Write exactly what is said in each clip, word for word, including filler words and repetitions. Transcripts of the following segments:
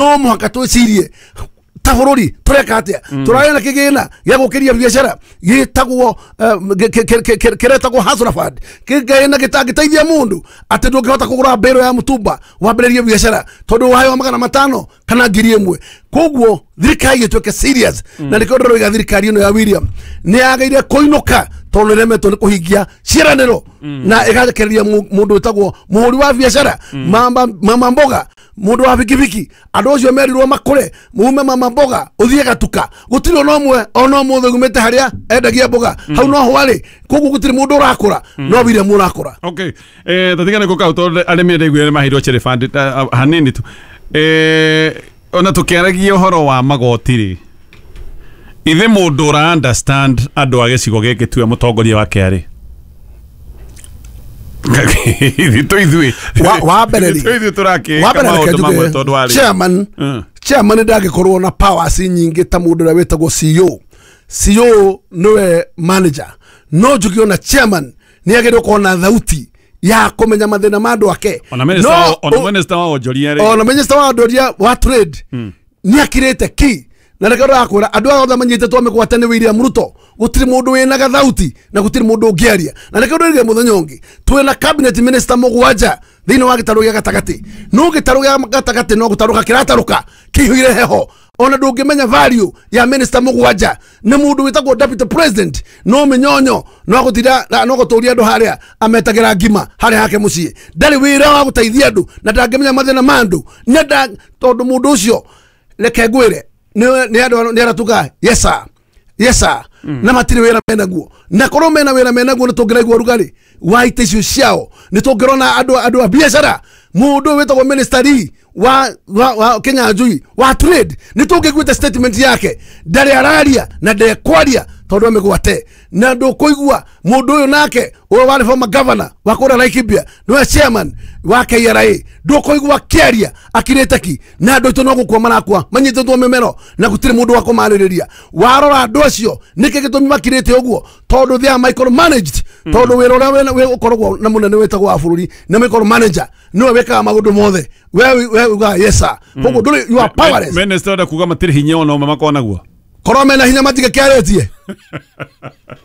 No mũhaka twĩcirie ta bũrũri tũreka atĩa. Tũrarĩ na kĩgĩna gĩa gũkĩria biacara gĩtagwo kĩretagwo Hustler Fund, kĩgĩna gĩtangĩteithia mũndũ atĩ ndũngĩhota kũgũra mbĩrũ ya mũtumba wambĩrĩrie biacara tondũ waheo magana matano kana ngiri ĩmwe. Koguo thirikari ĩtuĩke serious, na nĩkĩo ndĩroiga thirikari ĩno ya William nĩ yagĩrĩire kũinũka tondũ nĩremetwo nĩ kũhingia ciĩranĩro na ĩgarekereria mũndũ wĩtagwo mũhũri wa biacara, mama mama mboga, mũndũ wa bikibiki, andũ acio merirwo makũre mume mama mboga ũthiĩ gatuka, gũtirĩ ona ũmwe ona ũmũthĩ umĩte harĩa endagia mboga hau no ho arĩ. Koguo gũtirĩ mũndũ ũrakũra no William ũrakũra. Okay, eh tatigane kũ kau tondũ arĩmi ndaiguire nĩ maheirwo cherry fund hanini tu. Eh ona tũkĩaragia ũhoro wa magoti rĩ, ithe mũndũ ũra understand andũ a gĩcigo gĩkĩ tuwe mũtongoria wake arĩ wa mbere rĩ, wa mbere reke njuge chairman chairman ndangĩkorwo na powers nyingĩ ta mũndũ ũrĩa wĩtagwo C E O. C E O nĩwe manager, no njuge ona chairman nĩ agĩrĩirwo gũkorwo na thauti ya kũmenya mathĩna ma andũ ake. Ona minister ona minister wa onjoria rĩ, ona minister wa onjoria wa trade nĩ akirĩte ki. Na reke ndĩrakwĩra andũ aya othe manyitĩtwo mĩgwate nĩ William Ruto, gũtirĩ mũndũ wĩna gathauti na gũtirĩ mũndũ ũngĩaria. Na reke ndĩrĩrie mũthenya ũngĩ, twĩna cabinet minister mũgwanja thĩinĩ wa gĩtarũ gĩa gatagatĩ. No gĩtarũ gĩa gatagatĩ no gũtarũka kĩratarũka kĩihũire heho. Ona ndũngĩmenya value ya minister mũgwanja nĩ mũndũ wĩtagwo deputy president, no mĩnyonyo no gũtira no gũtũria andũ harĩa ametagĩra ngima harĩa hake mũciĩ. Ndarĩ wĩra wa gũteithia andũ na ndangĩmenya mathĩna ma andũ, tondũ mũndũ ũcio reke ngwĩre nĩ andũ nĩ aratuga yes sir, yes sir, na matirĩ wĩra menaguo. Na korwo mena wĩra menaguo nĩ tũngĩraigua rugarĩ wa itĩ icio ciao, nĩ tũngĩrona andũ andũ a biacara. Mũndũ wĩtagwo minister Lee wa wa, wa Kinyanjui wa trade nĩ tũngĩiguĩte statement yake, ndarĩ araria na ndekwaria tondũ amĩgwate. Na ndũkũigua mũndũ ũyũ nake ũyũ warĩ former governor wa kũrĩa Laikipia nĩwe chairman wa K R A, ndũkũigua akĩaria akirĩte ki. Na andũ aitũ no gũkua marakua manyitĩtwo mĩmero na gũtirĩ mũndũ wa kũmarĩrĩria. Warora andũ acio nĩkĩ gĩtũmi makirĩte ũguo? Tondũ they are micromanaged, tondũ wĩra ũrĩa ũkoragwo na mũnene wĩtagwo wa bũrũri na micromanager nĩwe wĩkaga maũndũ mothe. We we uga yes sir, koguo ndũrĩ, you are powerless. Minister enda kuga matirĩ hinya ona ũmwe makoragwo naguo, korwo mena hinya matigĩkĩarĩtie.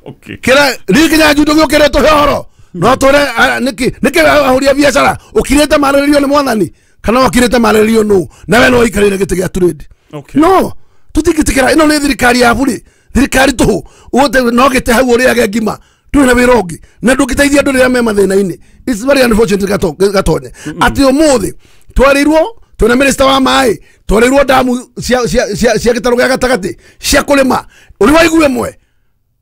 Okay, kĩra rĩ Kinyanjui ndũgĩũkĩre tũhe ũhoro no tũre nĩkĩ nĩkĩ ahũri a biacara ũkirĩte marĩrĩrio nĩ mwathani kana ũkirĩte marĩrĩrio nũ na we no ũikarĩre gĩtĩ gĩa trade? No tũtingĩtĩkĩra. Ĩno nĩ thirikari ya bũrĩ, thirikari tũhũ ũte no gĩte hau ũrĩage ngima ndũrĩ na wĩra ũngĩ na ndũngĩteithia andũ rĩrĩa me mathĩna-inĩ. It's very unfortunate Gatonye atĩ ũmũthĩ twarĩirwo twĩna minister wa maĩ, twarĩirwo damu cia cia cia gĩtarũ gĩa gatagatĩ cia kũrĩma, ũrĩ waigua ĩmwe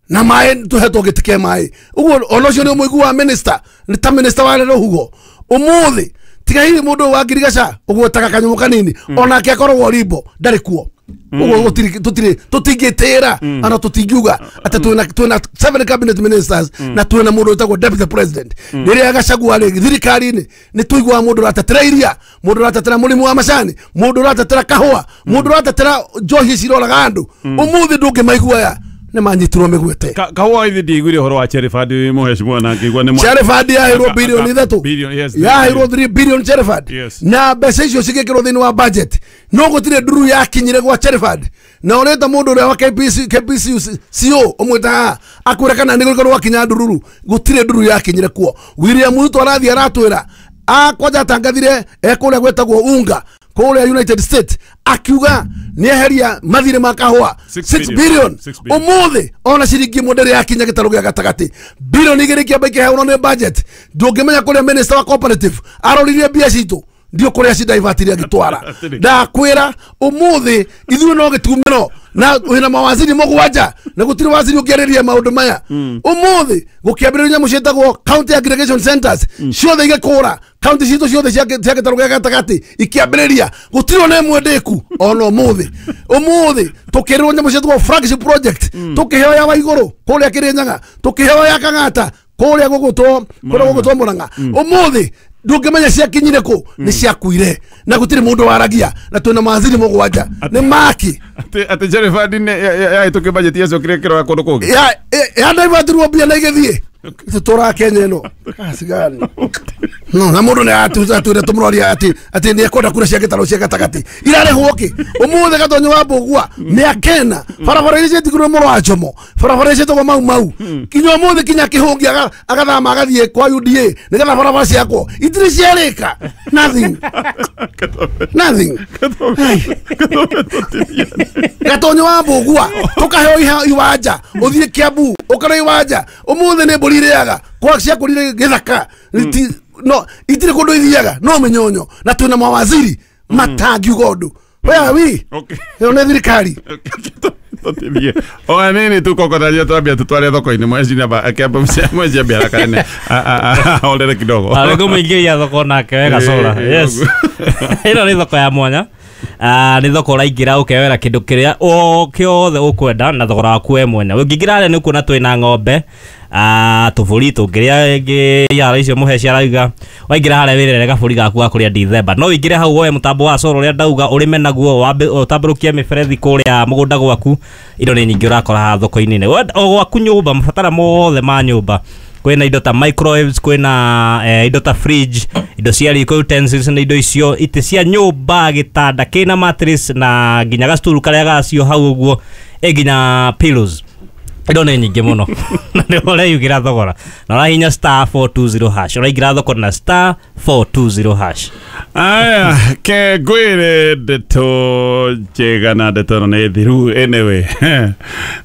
na maĩ tũhetwo gĩtĩ kĩa maĩ. Ũguo ona ũcio nĩ ũmũigua minister nĩ ta minister wa rũhuho. Ũmũthĩ tiga hihi mũndũ wa ngirigaca ũgwetaga kanyamũ kanini onake akoragwo rimbo ndarĩ kuo. Ũguo gũtirĩ tũtirĩ tũtingĩtĩra ana tũtingiuga atĩ twĩna twĩna seven cabinet ministers na twĩna mũndũ wĩtagwo deputy president. Rĩrĩa Gachagua rĩ thirikari-inĩ nĩ tũiguaga mũndũ ũratetera iria, mũndũ ũratetera mũrĩmi wa macani, mũndũ ũratetera kahũa, mũndũ ũratetera njohi ciroraga andũ. Ũmũthĩ ndũngĩmaigua aya nĩ manyitirwo mĩgwate. Kahũa ithi ndiaiguire ũhoro wa cherry fund mũhecimwa na ngĩigua nĩ cherry fund yaheirwo bilioni ithatũ, yaheirwo three billion cherry fund, na mbeca icio cigĩkĩrwo thĩinĩ wa budget, no gũtirĩ nduru yakinyire gwa cherry fund. Na ũreta mũndũ ũrĩa wa K P C K P C C O ũmwĩtaga akwĩra kana nĩ gũkorwo gwakinya ndururu, gũtirĩ nduru yakinyire kuo. William Ruto arathiĩ aratwĩra kwanja atangathire ekũrĩa gwĩtagwo Unga kũrĩa United States akiuga nĩ eheria mathirĩ ma kahũa six billion. Ũmũthĩ ona ciringi ĩmwe ndĩrĩ yakinya gĩtarũ gĩa gatagatĩ, bilioni igĩrĩ ikĩamba ikĩheanwo nĩ budget. Ndũngĩmenya kũrĩa minister wa cooperative aroririe mbia citũ ndio kũrĩa cidivertire agĩtwara. Ndakwĩra ũmũthĩ ithuĩ no gĩtumĩro na wĩna mawaziri mũgwanja na gũtirĩ waziri ũngĩarĩria maũndũ maya. Ũmũthĩ gũkĩambĩrĩria nyamũ ciĩtagwo county aggregation centers ciothe igĩkũra, county citũ ciothe cia gĩtarũ gĩa gatagatĩ ikĩambĩrĩria, gũtirĩ ona ĩmwe ndĩku ona ũmũthĩ. Ũmũthĩ tũkĩrĩrwo nyamũ ciĩtagwo flagship project, tũkĩheo ya Waigũrũ kũrĩa Kĩrĩnyaga, tũkĩheo ya Kang'ata kũrĩa gũgũtwo kũrĩa gũgũtwo Mũrang'a. Ũmũthĩ ndũngĩmenya ciakinyire kũ, nĩ ciakuire na gũtirĩ mũndũ waragia na twĩna mawaziri mũgwanja nĩ maki atĩ atĩ cherry fund yahĩtũkio budget yacokire ĩkĩrora kũndũ kũngĩ ya ya divertirwo mbia na igĩthiĩ. Tũtũraga Kenya ĩno kasigani. No na mundu ni atwire tumuroria ati ati ni ekwenda kura cia gitaro cia gatagati irarehwo ki umuthi Gatonyo wa Mbugua miaka ena barabara iria ciatigirwo mũro wa Njomo, barabara iria cietagwo Mau Mau, kinya umuthi kinya Kihungi agathama agathie kwa U D A nigetha barabara ciakwo itirĩ ciarĩka. Nothing, nothing. Gatonyo wa Mbugua tukaheo iwanja uthie Kiambu ukare iwanja umuthi ni mbũri irĩaga kwa ciakũrire gĩthaka no itire kundu ithiaga no menyonyo na twina mawaziri matangiuga undu. Where are we? Okay. Ĩno nĩ thirikari. Tũtithie o nini tu kokotaria twambia tutware thoko-inĩ mwezi namba akĩamba mwezi ambia haraka ahorere kidogo. Arĩ kũmũingĩria thoko nake wega cora. Yes. Ĩno nĩ thoko ya mwanya. Ah, nĩ thoko ũraingĩra ũkewera kĩndũ kĩrĩa o kĩothe ũkwenda na thogora waku we mwene. Ũngĩingĩra harĩa nĩ ũkuona twĩna ng'ombe, ah, tũbũri tũngĩrĩa ĩngĩ yara icio mũhe ciarauga. Waingĩra harĩa wĩrere gabũri gaku ga kũrĩa Dithemba. No ũingĩre hau woe mũtambo wa coro ũrĩa ndauga ũrĩme naguo wambe ũtambũrũkie mĩberethi kũrĩa mũgũnda gwaku. Indo nĩ nyingĩ ũrakora haha thoko-inĩ. O gwaku nyũmba, mabatara mothe ma nyũmba. Kwĩna indo ta microwaves, kwĩna eh, indo ta fridge, indo cia riko, utensils na indo icio, itĩ cia nyũmba, gĩtanda kĩna mattress na nginya gacturu karĩa gacio hau ũguo, ĩ nginya pillows. Indo nĩ nyingĩ mũno. Na nĩ ũreyugĩra thogora. Na ũrahihinya star four two zero hash. Ũraingĩra thoko na star four two zero hash. Aya, ke ngwĩre ndeto njega na ndeto ĩno nĩ thiru anyway.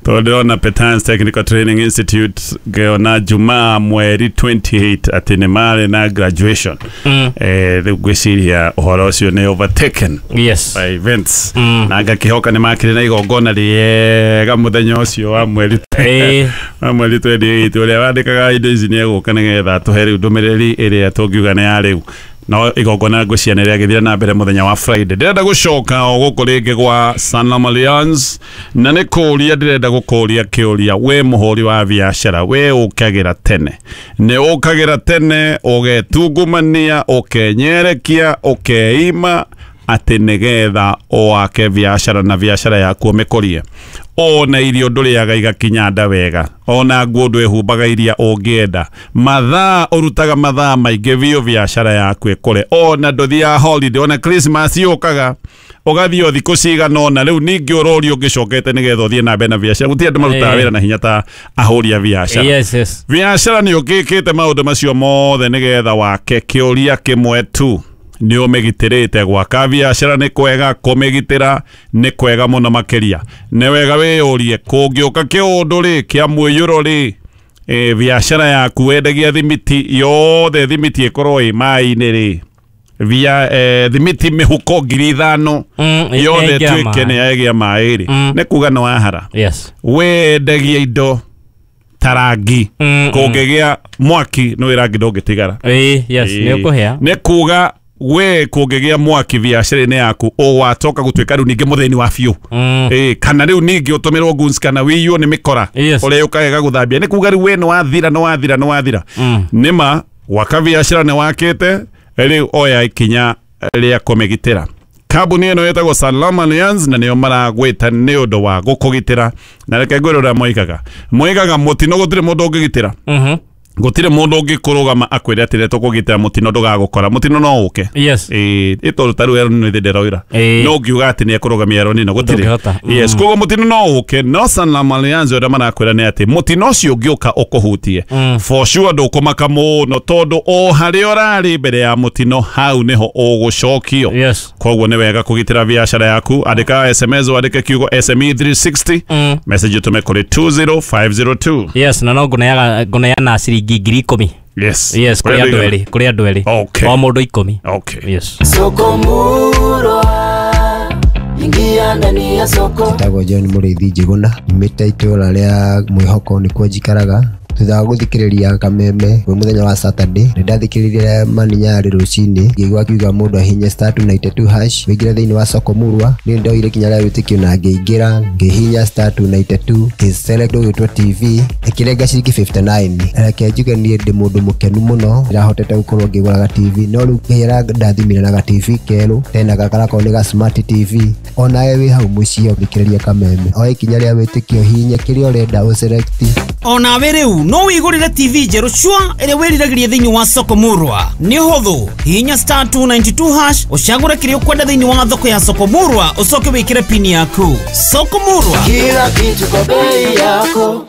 Tondũ ndĩrona Petans Technical Training Institute ngĩona Jumaa mweri twenty-eight atĩ nĩ marĩ na graduation. Mm. Eh, rĩu ngwĩciria ũhoro ũcio nĩ overtaken Yes. by events. Mm. Na ngakĩhoka nĩ makĩrĩ na igongona rĩega mũthenya ũcio wa mweri Eh. wa mweri twenty-eight. Ũrĩa wandĩkaga indo ici nĩ egũka nĩgetha atũhe rĩu ndũmĩrĩri ĩrĩa tũngiuga nĩ ya rĩu. No igongona ngwĩciria nĩ rĩagĩthire na mbere mũthenya wa Friday. Ndĩrenda gũcoka o gũkũ rĩngĩ gwa Sanlam Alliance na nĩ kũũria ndĩrenda gũkũũria kĩũria, we mũhũri wa biacara, we ũkagĩra tene, nĩ ũkagĩra tene ũgetungumania ũkenyerekia ũkeima atĩ nĩgetha ũwake biacara na biacara yaku ũmĩkũrie. Ona irio ndũrĩaga igakinya nda wega, ona nguo ndwĩhumbaga iria ũngĩenda, mathaa ũrutaga mathaa maingĩ biũ biacara yaku ĩkũre, ona ndũthiaga holiday, ona Christmas yũkaga ũgathiĩ o thikũ cigana ũna, rĩu ningĩ ũrorio ũngĩcokete nĩgetha ũthiĩ na mbere na biacara. Gũtirĩ andũ marutaga Eh. wĩra na hinya ta ahũri a biacara. Yes, yes. Biacara nĩ ũkĩkĩte maũndũ macio mothe nĩgetha wake kĩũria kĩmwe tu, nĩ ũmĩgitĩrĩte. Gwaka biacara nĩ kwega, kũmĩgitĩra nĩ kwega mũno makĩria. Nĩ wega wĩyũrie kũngĩũka kĩũndũ rĩ kĩa mũiyũro rĩ, e, biacara yaku wendagia thimiti yothe, thimiti ĩkorwo ĩ maĩ-inĩ rĩ, via eh, thimiti mĩhuko ngiri ithano Mm, yothe ĩgĩa ĩtuĩke maĩ. nĩ yagĩa maĩ rĩ, Mm. nĩ kuga nĩ wahara. Yes. Wendagia indo ta rangi, Mm, kũngĩgĩa mwaki nĩ rangi ndũngĩtigara. Ĩĩ, yes, nĩ ũkũhĩa. Nĩ kuga we kũngĩgĩa mwaki biacara-inĩ yaku ũgwatoka gũtuĩka rĩu ningĩ mũthĩni wa biũ. Mm. Ĩĩ, kana rĩu ningĩ ũtũmĩrwo goons kana wĩiywo nĩ mĩkora Yes. ũrĩa ũkagega gũthambia. Nĩ kuga rĩu we nĩ wathira, nĩ wathira, nĩ wathira. Mm. Nĩma gwaka biacara nĩ wakĩte, rĩu oya ikinya rĩa kũmĩgitĩra. Kambuni ĩno ĩtagwo Sanlam Alliance na nĩo maragwĩta nĩ ũndũ wa gũkũgitĩra. Na reke ngwĩre ũrĩa moigaga. Moigaga mũtino gũtirĩ mũndũ ũngĩgitĩra. Mhm. Gũtirĩ mũndũ ũngĩkũrũgama akwĩre atĩ rĩrĩa tũkũgitĩra mũtino ndũgagũkora. Mũtino no ũke. Yes. Ĩĩ, ĩ tondũ ta rĩu Aaron nĩ ndĩroira. Ĩĩ. No ũngiuga atĩ nĩ ekũrũgamia Aaron no gũtirĩ. Ndũngĩhota. Yes, Mm. koguo mũtino no ũke, no Sanlam Alliance ũrĩa marakwĩra nĩ atĩ mũtino ũcio ũngĩũka ũkũhutie. Mm. For sure ndũkũmaka mũno tondũ o harĩa ũrarĩ mbere ya mũtino hau nĩho ũgũcokio. Yes. Koguo nĩ wega kũgitĩra biacara yaku. Andĩka S M S wandĩke kiugo S M E three sixty. Mm. Message ũtũme kũrĩ two zero five zero two. Yes, na no ngũneaga ngũneana ciringi ngiri ikũmi. Yes. Yes, kũrĩ andũ erĩ, kũrĩ andũ erĩ. Okay. O mũndũ ikũmi. Okay. Yes. Soko Murwa, ingia ndani ya soko. Njĩtagwo John Mũrĩithi Njĩgũna, nyumĩte itũũra rĩa Mwĩhoko nĩkuo njikaraga. Thutha wa gũthikĩrĩria Kameme kwĩ mũthenya wa Saturday, nĩ ndathikĩrĩirie Mani Nyarĩ rũcinĩ, ngĩigua akiuga mũndũ ahihinye star two ninety two hash wĩingĩre thĩinĩ wa soko Murwa. Niĩ ndoire ikinya rĩa wĩtĩkio na ngĩingĩra, ngĩhihinya star two ninety two, ngĩ-select ũgĩtwo T V, ĩkĩrenga ciringi fifty nine. Reke njuge niĩ ndĩ mũndũ mũkenu mũno, ndĩrahotete gũkorwo ngĩgũra ga T V, no rĩu ngĩra ndathimire na ga T V kerũ, tena gakarakorwo nĩ ga smart T V. Onawe wĩ hau mũciĩ ũthikĩrĩrie Kameme, oya ikinya rĩa wĩtĩkio, hihinya kĩrĩa ũrenda ũselect. Onawe rĩu no wĩgũrĩre T V njerũ cua ĩrĩa wĩriragĩria thĩinĩ wa soko murwa. Nĩ ũhũthũ, hihinya star two ninety two hash ũcagũre kĩrĩa ũkwenda thĩinĩ wa thoko ya soko murwa, ũcoke wĩkĩre pini yaku. Soko murwa, kila kitu kwa bei yako.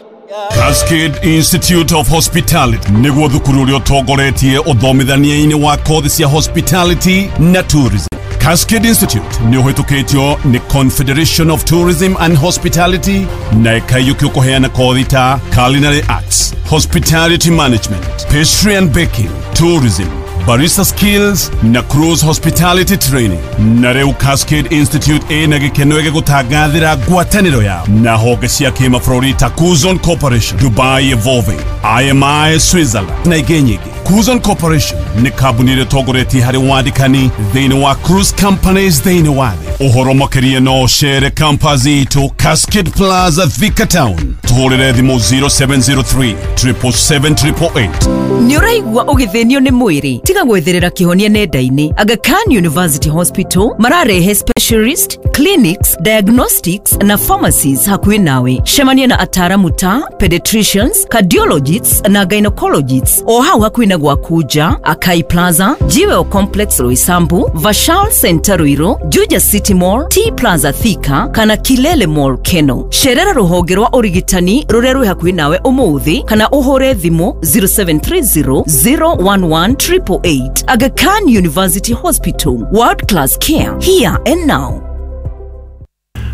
Cascade Institute of Hospitality nĩguo thukuru ũrĩa ũtongoretie ũthomithania-inĩ wa kothi cia hospitality na tourism. Cascade Institute nĩ ũhĩtũkĩtio nĩ Confederation of Tourism and Hospitality na ĩkaiyũkio kũheana kothi ta culinary arts, hospitality management, pastry and baking, tourism, barista skills na cruise hospitality training. Na rĩu Cascade Institute ĩna gĩkeno gĩgũtangathĩra ngwatanĩro yao na honge cia kĩmabũrũri ta Kuzon Corporation, Dubai Evolving, I M I Switzerland na ingĩ nyingĩ. Kuzon Corporation nĩ kambuni ĩrĩa ĩtongoretie harĩ wandĩkani thĩinĩ wa cruise companies thĩinĩ wa thĩ. Ũhoro makĩria no ũcere campus itũ Cascade Plaza, Thika Town. Tũhũrĩre thimũ zero seven zero three triple seven triple eight. Nĩ ũraigua ũgĩthĩnio nĩ mwĩrĩ, tiga gwetherera kĩhonia nenda-inĩ. Aga Khan University Hospital mararehe specialist clinics, diagnostics na pharmacies hakuhĩ nawe. Cemania na ataramu ta pediatricians, cardiologists na gynecologists o hau hakuhĩ na gwaku nja, Akai Plaza, Jewel Complex Roysambu, Vashal Center Ruiru, Juja City Mall, T Plaza Thika kana Kilele Mall Keno. Cerera rũhonge rwa ũrigitani rũrĩa rwĩ hakuhĩ nawe ũmũthĩ kana ũhũre thimũ zero seven three zero zero one one triple eight. Aga Khan University Hospital, world class care here and now.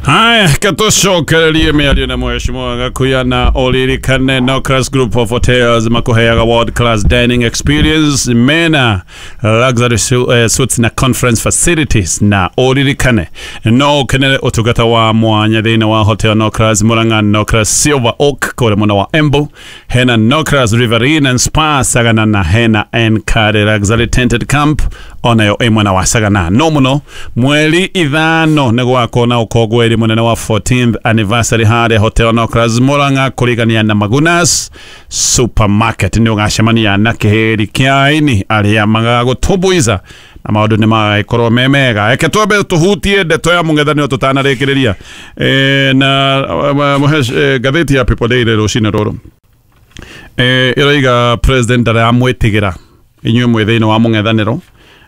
Haya, katucokererie mĩario na mheshimiwa Gakuya na ũririkane no Class Group of Hotels makuheaga world class dining experience mena luxury su, eh, suites na conference facilities na ũririkane no ũkenere ũtungata wa mwanya thĩinĩ wa hotel no Class Murang'a, no Class Silver Oak kũrĩa mwena wa Embu, hena no Class Riverine and Spa Sagana na hena Enkare Luxury Tented Camp onayo ĩ mwena wa Sagana. No mũno mweri ithano nĩ gwakorwo na ũkũngũĩri munene wa fourteenth anniversary harĩa hotel no Class Murang'a kũrigania na Magunas Supermarket. Nĩ ũgacemania na kĩhĩri kĩa aini arĩa magagũtumbuiza na maũndũ nĩ magagĩkorwo me mega. Reke twambe tũhutie ndeto ya mũng'ethanĩro tũtanarĩkĩrĩria. Eh, na mũhesh ngathĩti ya People Daily rũcinĩ rũrũ eh, ĩroiga president ndaramwĩtigĩra inyuĩ mwĩ thĩinĩ wa mũng'ethanĩro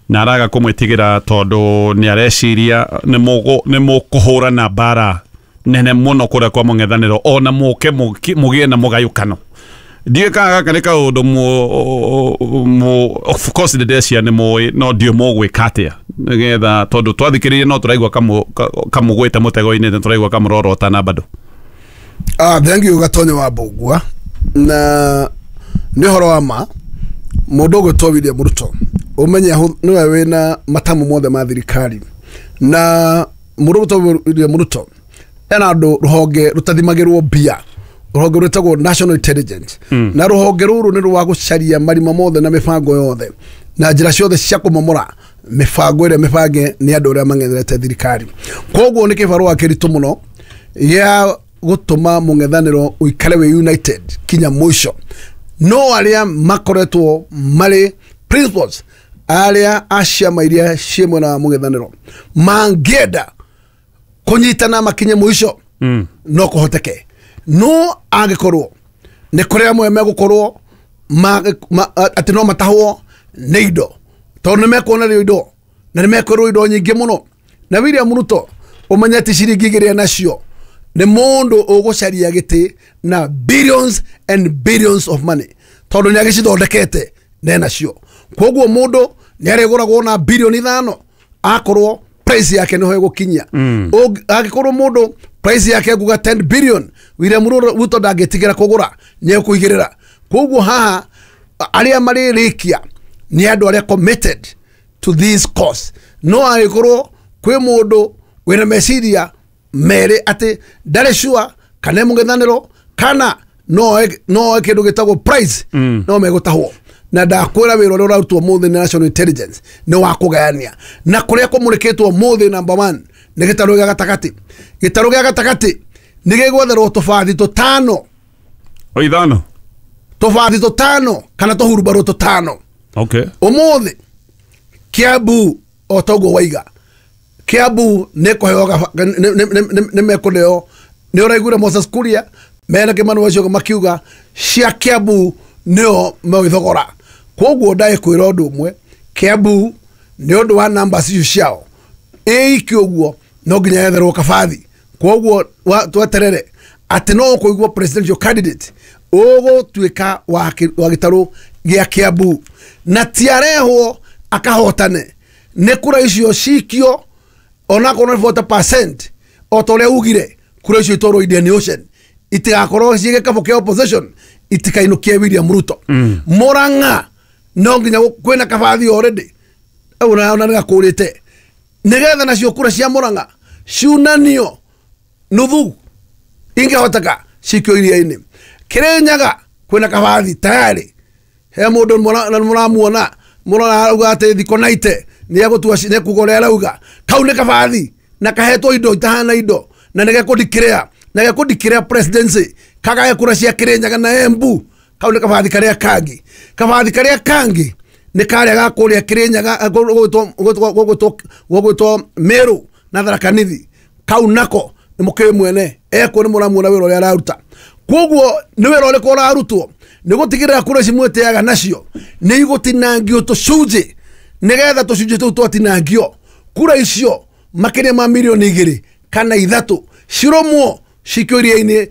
na araga kũmwĩtigĩra tondũ nĩ areciria nĩ mũkũhũrana mbara nene mũno kũrĩa kwa mũng'ethanĩro ona mũke mũgĩe na mũgayũkano. Ndiũĩ kana gaka nĩ kaũndũ of course ndĩreciria nĩ mũĩ no ndiũĩ mũgwĩka atĩa nĩgetha tondũ twathikĩrĩria no tũraigua kamũgwĩte mũtego-inĩ na tũraigua kamũrorotana bado. Ah, thank you Gatonyo wa Mbũgua. Na nĩ ũhoro wa ma mũndũ ũgwĩtwo William Ruto umenye niwe wina matamu mothe ma thirikari na mũndũ ũgwĩtwo William Ruto ena andũ rũhonge rũtathimagĩrwo mbia, rũhonge rwĩtagwo National Intelligence. Mm. Na rũhonge rũrũ nĩ rwa gũcaria marima mothe na mĩbango yothe na njĩra ciothe cia kũmomora mĩbango ĩrĩa mĩbange nĩ andũ arĩa mang'etherete thirikari. Koguo nĩ kĩbarũa kĩritũ mũno gĩa gũtũma mũng'ethanĩro ũikare wĩ united kinya mũico. No arĩa makoretwo marĩ principles arĩa a ciama iria ciĩ mwena wa mũng'ethanĩro mangĩenda kũnyitana makinye mũico, mm. no kũhoteke. No angĩkorwo nĩ kũrĩ amwe megũkorwo atĩ no matahwo nĩ indo tondũ nĩ mekuonerio indo na nĩ mekwĩrwo indo nyingĩ mũno. Na William Ruto ũmenye ti ciringi igĩrĩ nacio nĩ mũndũ ũgũcaria gĩtĩ na billions and billions of money tondũ nĩ agĩcithondekete nenacio. Koguo mũndũ nĩ arĩgũragwo na bilioni ithano akorwo price yake nĩho ĩgũkinyia. Mm. Angĩkorwo mũndũ price yake ĩkuga ten billion, William Ruto ndangĩtigĩra kũgũra, nĩ ekũigĩrĩra. Koguo haha arĩa marĩrĩkia nĩ andũ arĩa committed to this cause. No angĩkorwo kwĩ mũndũ wĩna meciria merĩ atĩ ndarĩ sure kana mũng'ethanĩro kana no no kĩndũ gĩtagwo price, mm. no megũtahwo. Na ndakwĩra wĩra ũrĩa ũrarutwo mũthĩ nĩ National Intelligence nĩ wa kũgayania na kũrĩa kũmũrĩkĩtwo mũthĩ number one nĩ gĩtarũ gĩa gatagatĩ. Gĩtarũ gĩa gatagatĩ nĩ gĩgwetherwo tũbathi tũtano o ithano tũbathi tũtano kana tũhurubarũ tũtano. Okay. Ũmũthĩ Kiambu o toguo waiga Kiambu nĩ kũheo nĩ mekũneo nĩ ũraiguire Moses Kuria Mena Kimani wacio makiuga cia Kiambu nĩo megũthogora. Koguo ndaĩkwĩra ũndũ ũmwe, Kiambu nĩ ũndũ wa numbers icio ciao ĩiki ũguo no nginya yetherwo kabathi. Koguo tweterere atĩ no ũkũigua presidential candidate ũgũtuĩka wa gĩtarũ gĩa Kiambu na tiarehwo akahotane nĩ kura icio cikio onakorwo nĩ forty percent o ta ũrĩa ugire kura icio itwarwo Indian Ocean itigakorwo ciĩ gĩkabũ kĩa opposition itikainũkie William Ruto. mm. Murang'a no nginya kwĩna kabathi already ona ona nĩgakũrĩte nĩgetha nacio kura cia Murang'a ciunanio nuthu ingĩhoteka cikio iria-inĩ. Kirinyaga kwĩna kabathi tayari he mũndũ mũramuona mũrona arauga atĩ thikũ naite nĩegũtua nĩekuga ũrĩa arauga kau nĩ kabathi na kahetwo indo itahana indo na nĩgekũndikĩrĩa na gekũndikĩrĩa presidency kagae kura cia Kirinyaga na Embu. Kau nĩ kabathi karĩa kangi kabathi karĩa kangi nĩ karĩa ga kũrĩa Kirinyaga gũgwĩtwo Meru na Tharaka Nithi. Kau nako nĩ mũkĩũĩ mwene ekuo nĩ mũramuona wĩra ũrĩa araruta. Koguo nĩ wĩra ũrĩkũ ũrarutwo nĩ gũtigĩrĩra kura ici mwĩtĩaga nacio nĩ igũtinangio tũcunjĩ nĩgetha tũcunjĩ tũu twatinangio kura icio makĩria ma mirioni igĩrĩ kana ithatũ cirũmwo cikio iria-inĩ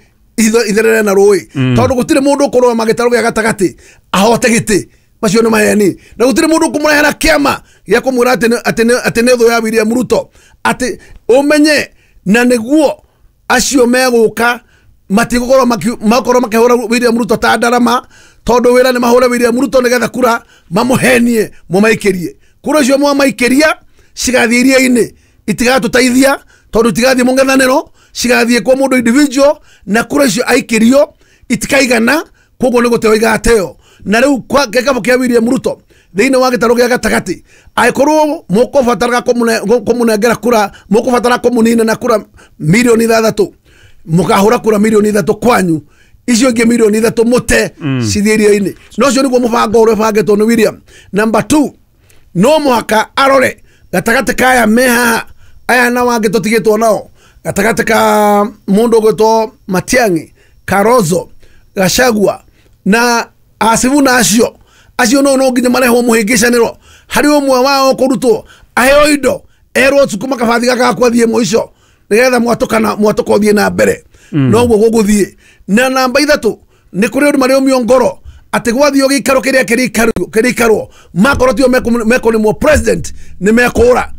itherere na rũĩ, tondũ gũtirĩ mũndũ ũkũrũgama gĩtarũ gĩa gatagatĩ ahote gĩtĩ macio nĩ maheni na gũtirĩ mũndũ ũkũmũrehera kĩama gĩa kũmwĩra atĩ nĩ thũ ya William Ruto atĩ ũmenye na nĩguo acio megũka matigũkorwo makorwo makĩhũra William Ruto ta ndarama tondũ wĩra nĩ mahũre William Ruto nĩgetha kura mamũhenie mũmaikĩrie kura icio mwamaikĩria cigathiĩ iria-inĩ itigatũteithia tondũ itigathiĩ mũng'ethanĩro cigathiĩ kwa mũndũ individual na kura icio aikĩrio itikaigana koguo nĩ gũteo igateo. Na rĩu gĩkabũ kĩa William Ruto thĩinĩ wa gĩtarũ gĩa gatagatĩ angĩkorwo mũkũbataraga kũmũnengera kura mũkũbatara kũmũnina na kura mirioni ithathatũ mũkahũra kura mirioni ithatũ kwanyu icio ingĩ mirioni ithatũ mũte cithiĩ iria-inĩ. No ũcio nĩguo mũbango ũrĩa ũbangĩtwo nĩ William. Number two, no mũhaka arore gatagatĩ ka aya me haha aya na wangĩ tũtigĩtwo nao gatagatĩ ka mũndũ ũgwĩtwo Matiang'i, Karozo, Gachagua na Asivuna acio acio no no nginya marehwo mũhĩngĩcanĩro harĩ ũmwe wao kũrutwo aheo indo erwo cukuma kabathi gaka gakwathiĩ mũico nĩgetha mwatũkana mwatũka ũthiĩ na mbere noguo gũgũthiĩ. Na namba ithatũ nĩ kũrĩ andũ marĩũmio ngoro atĩ gwathio gĩikaro kĩrĩa kĩrĩikarwo makorwo tio mekũnĩmwo president nĩ mekũra.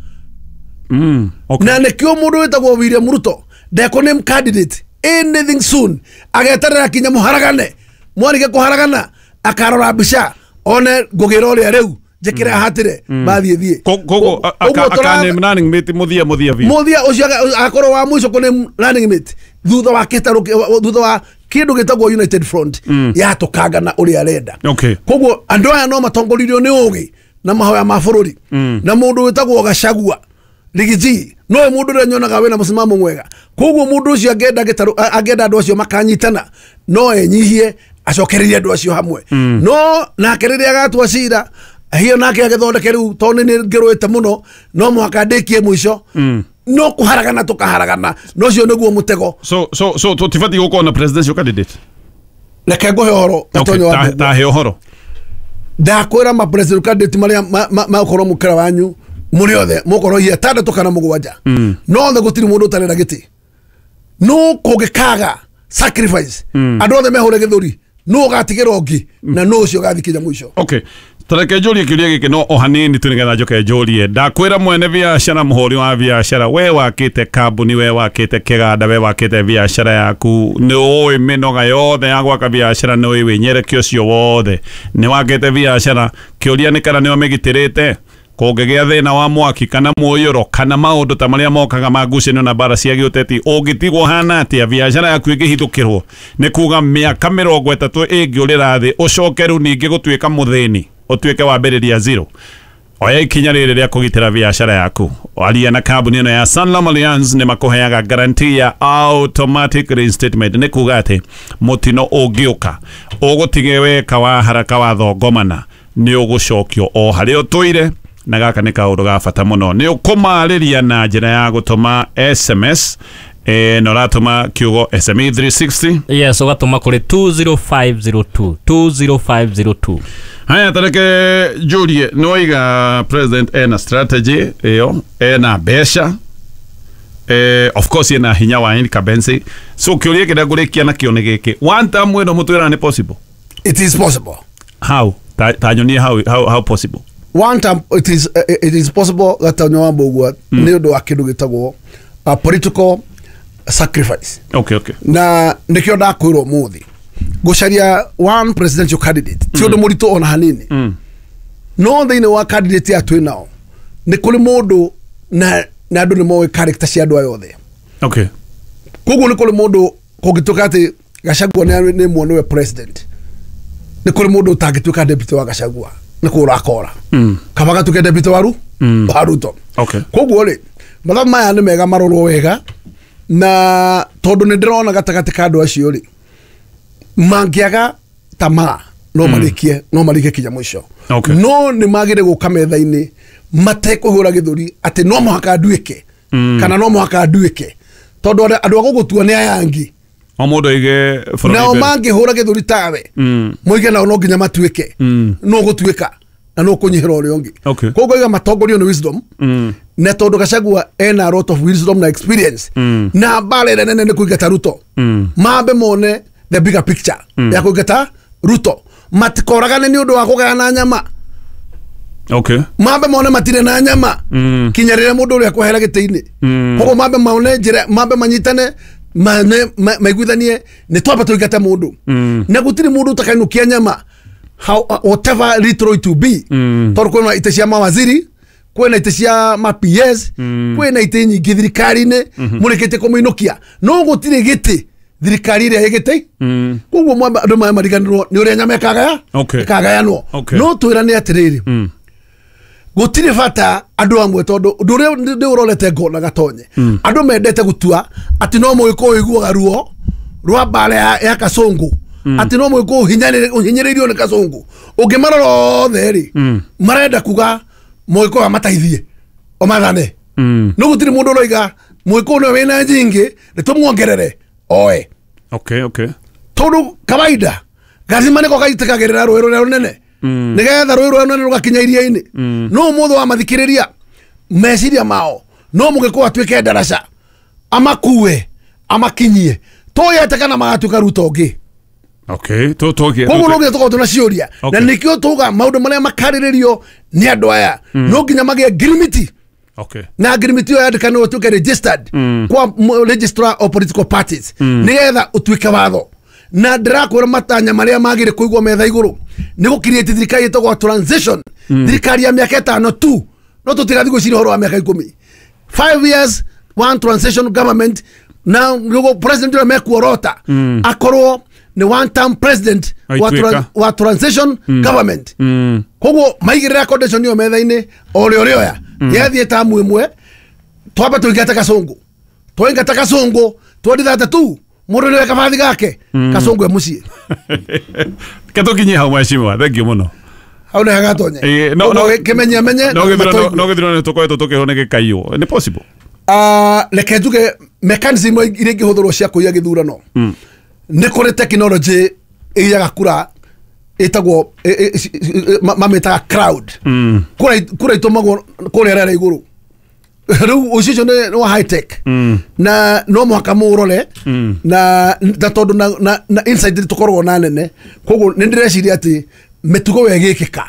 Mm, okay. Na nĩkĩo mũndũ wĩtagwo William Ruto ndekũname candidate anything soon ageterera kinya mũharagane mwarige kũharagana akarora mbica one ngũgĩra ũrĩa rĩu njĩkĩre hatire bathiĩ thiĩ koguo akaname running mate mũthia mũthia biũ mũthia ũcio akorwo wa mũico kũname running mate thutha wa kĩtarũ thutha wa kĩndũ gĩtagwo United Front yatũkanga na ũrĩa arenda. Okay. Koguo andũ aya no matongoririo nĩ ũgĩ na mahoya ma bũrũri na mũndũ wĩtagwo Gachagua Rigiji no mũndũ ũrĩa nyonaga wĩna mũsimamo mwega. Koguo mũndũ ũcio angĩenda gĩtarũ angĩenda andũ acio makanyitana no enyihie acokererie andũ acio hamwe no nake rĩrĩa agatua cira hiyo nake agĩthondeke rĩu tondũ nĩ ngĩrũĩte mũno no mũhaka ndĩkie mũico no kũharagana tũkaharagana no ũcio nĩguo mũtego. So so so tũtibatiĩ gũkorwo na presidential candidate. Reke ngũhe ũhoro Gatonyo wa tahe ũhoro ndakwĩra ma presidential candidate marĩa magũkorwo mũkĩra wanyu mũrĩ othe mũkorwo hihi atandatũ kana mũgwanja no othe gũtirĩ mũndũ ũtarenda gĩtĩ no kũngĩkaga sacrifice andũ othe mehũre gĩthũri no ũgatigĩra ũngĩ na no ũcio ũgathiĩ kinya mũico. Okay. Tareke njũrie kĩũria gĩkĩ no o hanini tu nĩgetha njoke njũrie ndakwĩra mwene biacara mũhũri wa biacara we wakĩte kambuni we wakĩte kĩganda we wakĩte biacara yaku nĩ ũĩ mĩnoga yothe ya gwaka biacara nĩ ũĩ wĩnyerekio ũcio wothe nĩ wakĩte biacara kĩũria nĩ kana nĩ ũmĩgitĩrĩte kũngĩgĩa thĩna wa mwaki kana mũiyũro kana maũndũ ta marĩa mokaga ma ngucanio na mbara cia gĩũteti ũngĩtigwo hana atĩa biacara yaku ĩngĩhithũkĩrwo nĩ kuga mĩaka mĩrongo ĩtatũ ĩngĩũrĩra thĩ ũcoke rĩu ningĩ gũtuĩka mũthĩni ũtuĩke wambĩrĩria zero. Oya ikinya rĩrĩ rĩa kũgitĩra biacara yaku aria na kambuni ĩno ya Sanlam Alliance nĩ makũheaga guarantee ya automatic reinstatement nĩ kuga atĩ mũtino ũngĩũka ũgũtige weka wa haraka wa thongomana nĩ ũgũcokio o harĩa ũtũire na gaka nĩ kaũndũ ga bata mũno nĩ ũkũmarĩria na njĩra ya gũtũma S M S Eh, na ũratũma kiugo S M E three sixty. Yes, ũgatũma kũrĩ two zero five zero two, two zero five zero two. Haya, tareke Julie, nĩwaiga president ena strategy ĩyo, ena mbeca, eh, of course ena hinya wa incumbency. So kĩũria kĩrĩa ngũrĩkia nakĩo nĩ gĩkĩ, one term ĩno mũtwĩra nĩ possible? It is possible. How? Ta, ta nyonie how, how, how possible? One term it is, uh, it is possible gatonyo wa mbũgua nĩ ũndũ wa kĩndũ gĩtagwo a political sacrifice. Okay, okay. Na nĩkĩo ndakwĩrwo mũthĩ gũcaria one presidential candidate ti ũndũ mũritũ ona hanini. Mm. No thĩinĩ wa candidate ya twĩ nao nĩ kũrĩ mũndũ na na andũ nĩ moĩ character cia andũ aya othe. Okay. Koguo nĩ kũrĩ mũndũ kũngĩtuĩka atĩ Gachagua nĩ nĩ muonewe president, nĩ kũrĩ mũndũ ũtangĩtuĩka deputy wa Gachagua nĩ kũra akora. Mm. Kaba gatuĩke deputy wa Ru Mm. wa Ruto. Okay. Koguo rĩ mathabu maya nĩ mega marorwo wega, na tondũ nĩ ndĩrona gatagatĩ ka andũ acio rĩ mangĩaga tamaa no marĩkie, no marĩkie kinya mũico. Okay. No nĩ magĩrĩire gũka metha-inĩ matekũhũra gĩthũri atĩ no mũhaka nduĩke Mm. kana no mũhaka nduĩke, tondũ andũ a gũgũtua nĩ aya angĩ. O mũndũ aige bũrũri Nao mbere. mangĩhũra gĩthũri tawe Mm. moige nao no nginya matuĩke, Mm. no gũtuĩka na no kũnyihĩra ũrĩa ũngĩ. Okay. Koguo iga matongorio nĩ wisdom. Mm. Na tondũ Gachagua ena a lot of wisdom na experience Mm. na mbara ĩrĩa nene nĩ kũingata Ruto. Mm. Mambe mone the bigger picture Mm. ya kũingata Ruto, matikoragane nĩ ũndũ wa kũgayana nyama. Okay. Mambe mone matirĩ na nyama Mm. kinya rĩrĩa mũndũ ũrĩa akwehera gĩtĩ-inĩ. Mm. Koguo mambe mone njĩra, mambe manyitane, mane maiguithanie nĩ twamba tũingate mũndũ. Mm. Na gũtirĩ mũndũ ũtakainũkia nyama how, uh, whatever little it will be. Mm. Tondũ kwĩna itĩ cia mawaziri, kwĩna itĩ cia ma P S, Mm. kwĩna itĩ nyingĩ thirikari-inĩ mũrĩkĩtie kũmĩinũkia, no gũtirĩ gĩtĩ thirikari ĩrĩa ĩ gĩtĩ. Mm. Koguo mwamba andũ maya mariganĩrwo nĩ ũrĩa nyama ĩkagaya Okay. ĩkagayanwo. Okay. No twĩrane atĩrĩrĩ, Mm. gũtirĩ bata andũ amwe, tondũ ũndũ ũrĩa ndĩũrorete ngona gatonye, andũ mendete gũtua atĩ no mũgĩkũyũ ũiguaga ruo rwa mbara ya, ya Kasongo, atĩ no mũgĩkũyũ ũhinyĩrĩirio nĩ Kasongo. Ũngĩmarora othe rĩ, Mm. marenda kuga mũgĩkũyũ amateithie omathane. Mm. No gũtirĩ mũndũ ũroiga mũgĩkũyũ nĩwe wĩna nyingĩ nĩ tũmuongerere oe. Okay, okay. Tondũ kawaida gacima nĩko gaitĩkagĩrĩra rũĩ rũrĩa rũnene Mm. nĩgetha rũĩ rũrĩa rũnene rũgakinya iria-inĩ. Mm. No ũmũthĩ wamathikĩrĩria meciria mao no mũgĩkũyũ atuĩke ndaraca amakue amakinyie tũyete kana magatuĩka Ruto ũngĩ. Okay, to to Koguo no nginya tũkorwo twĩna ciũria, Okay. na nĩkĩo tũga maũndũ marĩa makarĩrĩrio nĩ andũ aya no nginya magĩe ngirimiti. Okay. Na ngirimiti ĩyo yandĩkanĩrwo ĩtuĩke registered Mm. kwa registrar of political parties nĩgetha ũtuĩke watho. Na ndĩrakwĩra matanya marĩa magĩrĩ kũigwo metha igũrũ nĩ gũkiriĩti thirikari ĩtagwo transition, thirikari ya mĩaka ĩtano tu, no tũtigathiĩ gwĩciria ũhoro wa mĩaka ikũmi. Five years one transition government, na nĩguo president ũrĩa mekuorota akorwo nĩ one term president wa, Aituĩka. tra wa transition government. Mm. Koguo maigĩrĩra condition ĩyo metha-inĩ o ũrĩa ũrĩoya yathiĩ tamu ĩmwe twambe tũingate Kasongo, twaingata Kasongo twenty thirty-two mũndũ nĩwe kabathi gake Kasongo e mũciĩ. Ke tũkinyie hau mheshimiwa, thank you mũno. Hau nĩ hagatonye. Eh, no, no, Kĩmenye menye no gĩthurano no gĩthurano tũkoretwo tũkĩhwo nĩ gĩkaiywo nĩ possible? Ah, reke njuge mechanism iria ingĩhũthĩrwo cia kũiya gĩthurano nĩ kũrĩ technology ĩiyaga kura ĩtagwo mamĩtaga crowd. Kura kura itũmagwo kũrĩa rĩera igũrũ. Rĩu ũcio ũcio nĩ wa high tech na no mũhaka mũũrore na na tondũ na, na, na insight tũkoragwo na nene, koguo nĩ ndĩreciria atĩ mĩtugo ĩyo ĩgĩkĩka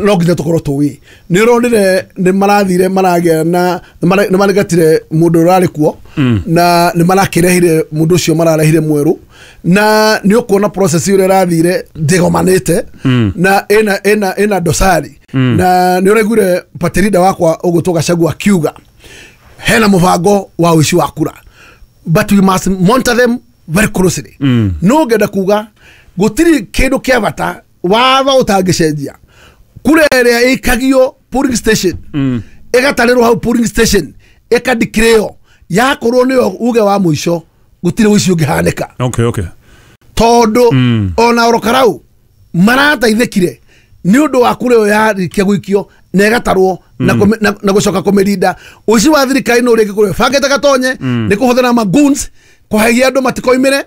no nginya tũkorwo tũĩ. Nĩ ũronire nĩ marathire maragĩa na nĩ maregatire mũndũ ũrarĩ kuo na nĩ marakĩrehire mũndũ ũcio mararehire mwerũ, na nĩ ũkuona process ũrĩa ĩrathire ndĩgomanĩte na ĩna ĩna ĩna dosari. Na nĩ ũraiguire party leader wakwa ũgwĩtwo Gachagua akiuga hena mũbango wa ũici wa kura, but we must monitor them very closely. No ngenda kuga gũtirĩ kĩndũ kĩa bata watho ũtangĩcenjia. Kura ĩrĩa ĩikagio polling station ĩgatarĩrwo hau polling station ĩkandikĩrĩo yakorwo nĩyo uge wa mũico gũtirĩ ũici ũngĩhanĩka. Okay, okay. Tondũ ona oro karau marateithĩkire Nĩ ũndũ wa kura ĩyo yarĩkia gũikio na ĩgatarwo na kũme- na gũcoka kũmĩrinda. Ũici wa thirikari nĩ ũrĩngĩ kũrĩ bangĩte Gatonye nĩ kũhũthĩra magoons kũhehia andũ matikoimĩre.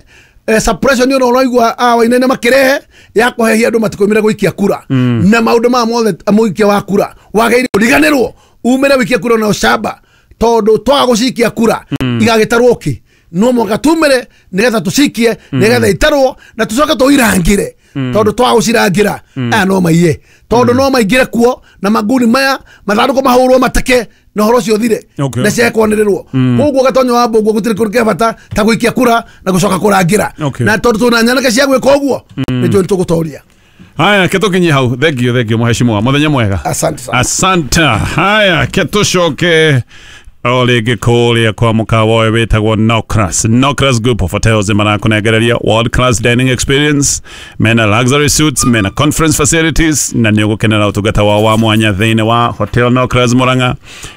Eh, suppression ĩno ũraigua a Wainaina makĩrehe ya kũhehia andũ matikoimĩre gũikia kura na maũndũ maya mothe mũikia wa kura wagĩrĩire ũriganĩrwo umĩre wĩikie kura na ũcamba tondũ twaga gũcikia kura igagĩtarwo kĩ no mũhaka tumĩre nĩgetha tũcikie nĩgetha itarwo na tũcoke tũirangĩre tondũ twaga gũcirangĩra aya no maiye tondũ no maingĩre kuo na manguni maya mathandũkũ mahũrwo mateke na ũhoro ũcio ũthire Okay. na ciekwanĩrĩrwo koguo Gatonyo wa Mbũngua gũtirĩ kĩndũ kĩa bata ta gũikia kura na gũcoka kũrangĩra Okay. na tondũ twĩna nyanake cia gwĩka ũguo nĩ njũĩ nĩ tũgũtoria. Haya, ke tũkinyie hau. Thank you, thank you mheshimiwa. Mũthenya mwega. Asante sana. Asante. Haya, ke tũcoke o rĩngĩ kũrĩa kwa mũkawa ũyũ wĩtagwo Nocras. Nocras Group of Hotels marakũnengereria world class dining experience, mena luxury suites, mena conference facilities na nĩ ũgũkenera ũtungata wao wa mwanya thĩinĩ wa Hotel Nocras Murang'a,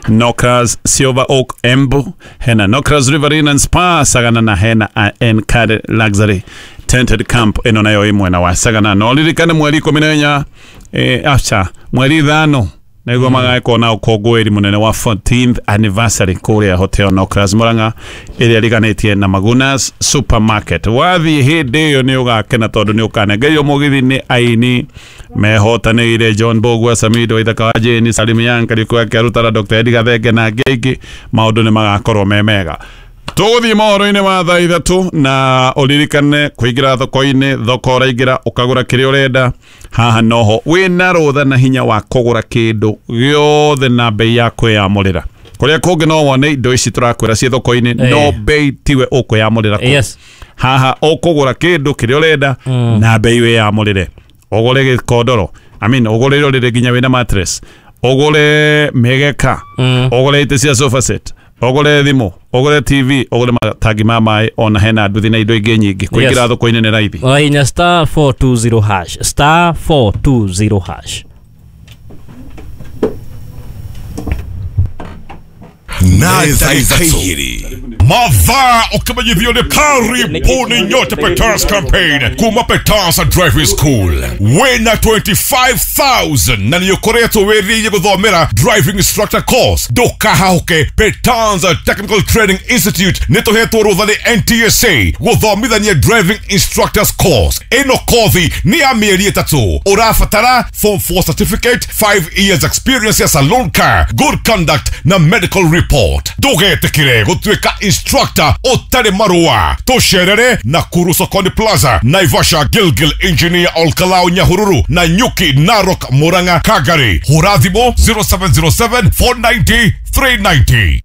Nocras Silver Oak Embu, hena Nocras Riverine and Spa Sagana na hena Encad Luxury Tented Camp ĩno nayo ĩ mwena wa Sagana. No ririkane mweri ikũmi na inya eh, aca mweri ithano nĩguo magagĩkorwo na ũkũngũĩri mũnene wa fourteenth anniversary kũrĩa Hotel Nocras Murang'a ĩrĩa ĩriganĩtie na Magunas Supermarket. Wathiĩ hĩndĩ ĩyo nĩ ũgakena tondũ nĩ ũkanengerio mũgithi nĩ aini mehotanĩire John Bogwa, Samido Ithaka wa Jane, Salim Yang, Kariuki wa Kĩarutara, Doctor Eddie Gathenge na angĩ aingĩ. Maũndũ nĩ magakorwo me mega. Tũgũthiĩ mohoro-inĩ ma thaa ithatũ na ũririkane kũingĩra thoko-inĩ, thoko ũraingĩra ũkagũra kĩrĩa ũrenda. Haha noho wĩna rũtha na hinya wa kũgũra kĩndũ gĩothe na bei ya kwĩyamũrĩra. Kũrĩa kũngĩ no wone indo ici tũrakwĩra ciĩ thoko-inĩ Eh. no bei tiwe ũkwĩyamũrĩra kũ. Yes. Haha ũkũgũra kĩndũ kĩrĩa ũrenda na bei wĩyamũrĩre. Ũgũre gĩkondoro, I mean ũgũre rũrĩrĩ nginya wĩna mattress, ũgũre mĩgeka, ũgũre itĩ cia sofa set, ũgũre thimũ, ũgũre T V, ũgũre matangi ma maĩ, ona hena nduthi na indo ingĩ nyingĩ. Kũingĩra Yes. thoko-inĩ nĩ raithi. Ũrahihinya star four two zero hash, star four two zero hash. Mathaa ũkĩmenyithio nĩ karibuni nyote Peters campaign kuma Peters Driving School wĩna twenty-five thousand na nĩ ũkoretwo wĩrirĩirie gũthomera driving instructor course. Ndũkahahũke, Peters Technical Training Institute nĩ tũhetwo rũtha nĩ N T S A gũthomithania driving instructors course. Ĩno kothi nĩ ya mĩeri ĩtatũ. Ũrabatara form four certificate, five years experience ya saloon car, good conduct na medical report. Ndũgetĩkĩre gũtuĩka instructor ũtarĩ marũa. Tũcerere Nakuru Sokoni Plaza, Naivasha, Gilgil, Engineer Olkalau, Nyahururu, Nanyuki, Narok, Murang'a, Kagari. Hũra thimũ zero seven zero seven four ninety three ninety.